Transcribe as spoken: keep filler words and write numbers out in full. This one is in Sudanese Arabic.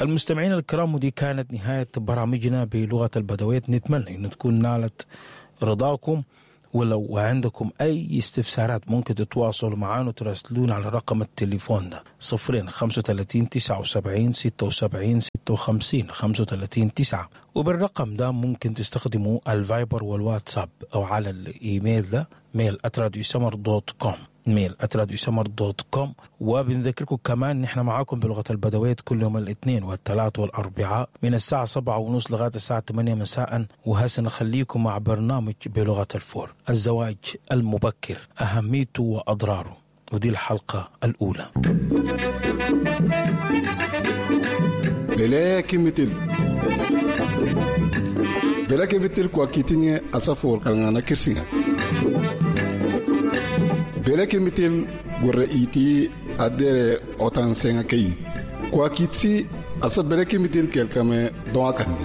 المستمعين الكرام، ودي كانت نهاية برامجنا بلغة البدويت. نتمنى أن تكون نالت رضاكم، ولو عندكم أي استفسارات ممكن تتواصلوا معنا وتراسلونا على رقم التليفون ده صفرين خمسة وثلاثين تسعة وسبعين ستة وسبعين ستة وخمسين خمسة وثلاثين تسعة، وبالرقم ده ممكن تستخدموا الفايبر والواتساب أو على الإيميل ده mail at راديو سمر dot com، mail at راديو سمر dot com. وبنذكركم كمان نحن معاكم بلغة البدويت كل يوم الاثنين والثلاث والأربعاء من الساعة سبعة ونص لغاية الساعة ثمانية مساء. وهسه نخليكم مع برنامج بلغة الفور، الزواج المبكر أهميته وأضراره، ودي الحلقة الأولى. بلاكي بلاكي بتل كواكيتيني أسافور كان كرسينا بلاكي متل غوريتي أدير أوتان سينكي كواكيتسي أسا بلاكي متل كالكامي دواكاني.